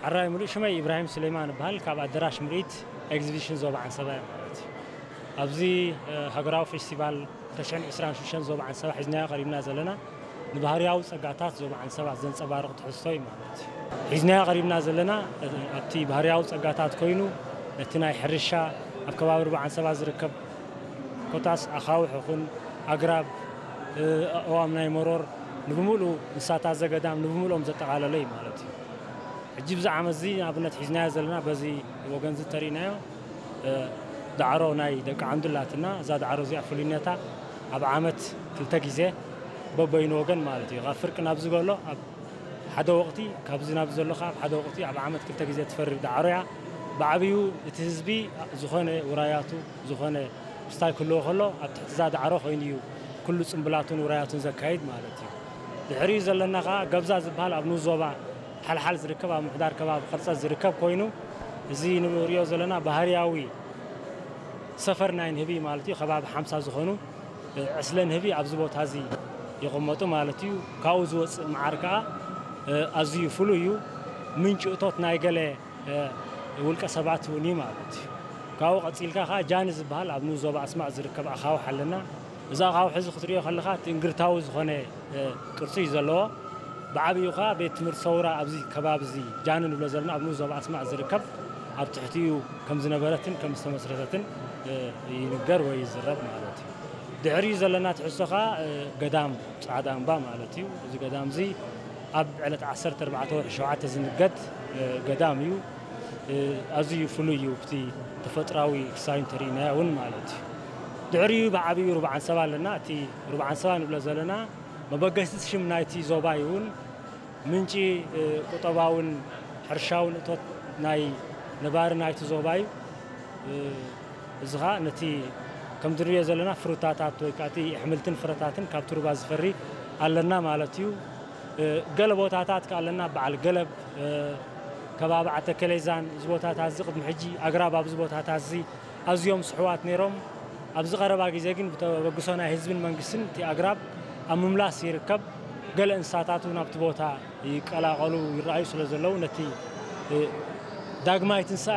ሕራይ ምሉእ ሽመይ ኢብራሂም ሱሌማን እበሃል። ካብ ኣደራሽ ምርኢት ኤግዚቢሽን ዞባ ዓንሰባ እየ ማለት እዩ። ኣብዚ ሃገራዊ ፌስቲቫል ክልተ ሽሕን ዕስራን ሽዱሽተን ዞባ ዓንሰባ ሒዝናዮ ቀሪብና ዘለና ንባህርያዊ ጸጋታት ዞባ ዓንሰባ ዘንጸባርቕ ትሕዝቶ እዩ ማለት እዩ። ሒዝናዮ ቀሪብና ዘለና ኣብቲ ባህርያዊ ጸጋታት ኮይኑ ነቲ ናይ ሕርሻ ኣብ ከባቢ ሩባ ዓንሰባ ዝርከብ ኮታስ ኣኻውሕ ይኹን ኣግራብ፣ ኣእዋም ናይ መሮር ንብምሉኡ እንስሳታት ዘገዳም ንብምሉኦም ዘጠቓለለ እዩ ማለት እዩ። ሕጂ ብዚ ዓመት እዚ ንኣብነት ሒዝናዮ ዘለና በዚ ወገን እዚ ተሪእናዮ ዳዕሮ ናይ ደቂ ዓንዱ ኣላትና። እዛ ዳዕሮ እዚኣ ፍሉይነታ ኣብ ዓመት ክልተ ግዜ በበይኑ ወገን ማለት እዩ። ካብ ፍርቂ ናብ ዝገሎ ኣብ ሓደ ወቕቲ ካብዚ ናብ ዘሎ ኣብ ሓደ ወቕቲ ኣብ ዓመት ክልተ ግዜ ትፈሪ ዳዕሮ እያ። ብዓብዩ እቲ ህዝቢ ዝኾነ ውራያቱ ዝኾነ ምስታይ ክህልዎ ከሎ ኣብ ትሕቲ እዛ ዳዕሮ ኮይኑ እዩ ኩሉ ጽምብላቱን ውራያቱን ዘካይድ ማለት እዩ። ድሕሪኡ ዘለና ከዓ ገብዛ ዝበሃል ኣብ ንኡስ ዞባ ሓልሓል ዝርከብ ኣብ ምሕዳር ከባቢ ቅርጸት ዝርከብ ኮይኑ እዚ ንሪኦ ዘለና ባህርያዊ ሰፈር ናይ ንህቢ ማለት እዩ። ከባቢ ሓምሳ ዝኾኑ ዕስለ ንህቢ ኣብዚ ቦታ እዚ ይቕመጡ ማለት እዩ። ካብኡ ዝወፅእ መዓር ከዓ ኣዝዩ ፍሉይ እዩ። ምንጪ እቶት ናይ ገለ ውልቀ ሰባት እውን እዩ ማለት እዩ። ካብኡ ቀፂልካ ከዓ ጃኒ ዝበሃል ኣብ ንኡስ ዞባ ኣስማጥ ዝርከብ ኣኻውሕ ኣለና። እዚ ኣኻውሕ እዚ ክትሪኦ ከለካ እቲ እንግርታዊ ዝኾነ ቅርፂ እዩ ዘለዎ። ብዓብዩ ከዓ ቤት ትምህርቲ ሰውራ ኣብዚ ከባቢ እዚ ጃኒ ንብሎ ዘለና ኣብ ንኡስ ዞባ ኣስማጥ ዝርከብ ኣብ ትሕቲኡ ከም ዝነበረትን ከም ዝተመስረተትን ይንገር ወይ ይዝረብ ማለት እዩ። ድሕሪኡ ዘለና ትሕዝቶ ከዓ ገዳም ፃዕዳ እምባ ማለት እዩ። እዚ ገዳም እዚ ኣብ ዕለት ዓሰርተ ኣርባዕተ ወርሒ ሸውዓተ ዝንገድ ገዳም እዩ። ኣዝዩ ፍሉይ እዩ። ብቲ ተፈጥራዊ ክሳዩ እንተርኢናዮ እውን ማለት እዩ። ድሕሪኡ ብዓብዩ ሩባ ዓንሰባ ኣለና። እቲ ሩባ ዓንሰባ ንብሎ ዘለና መበገሲ ሽም ናይቲ ዞባ እዩ እውን ምንጪ ቁጠባውን ሕርሻውን እቶት ናይ ነባሪ ናይቲ ዞባ እዩ። እዚ ኸዓ ነቲ ከምዚ ንሪኦ ዘለና ፍሩታታት ወይ ከዓ እቲ ኣሕምልትን ፍረታትን ካብቲ ሩባ ዝፈሪ ኣለና ማለት እዩ። ገለ ቦታታት ከ ኣለና በዓል ገለብ ከባቢ ዓተከሌዛን እዚ ቦታታት እዚ ቅድሚ ሕጂ ኣግራብ ኣብዚ ቦታታት እዚ ኣዝዮም ስሕዋት ነይሮም። ኣብዚ ቀረባ ግዜ ግን ብተበግሶ ናይ ህዝብን መንግስትን እቲ ኣግራብ ኣብ ምምላስ ይርከብ። ገለ እንስሳታት እውን ኣብቲ ቦታ ይቀላቐሉ ይረኣዩ ስለ ዘለዉ ነቲ ዳግማይ ትንሳኤ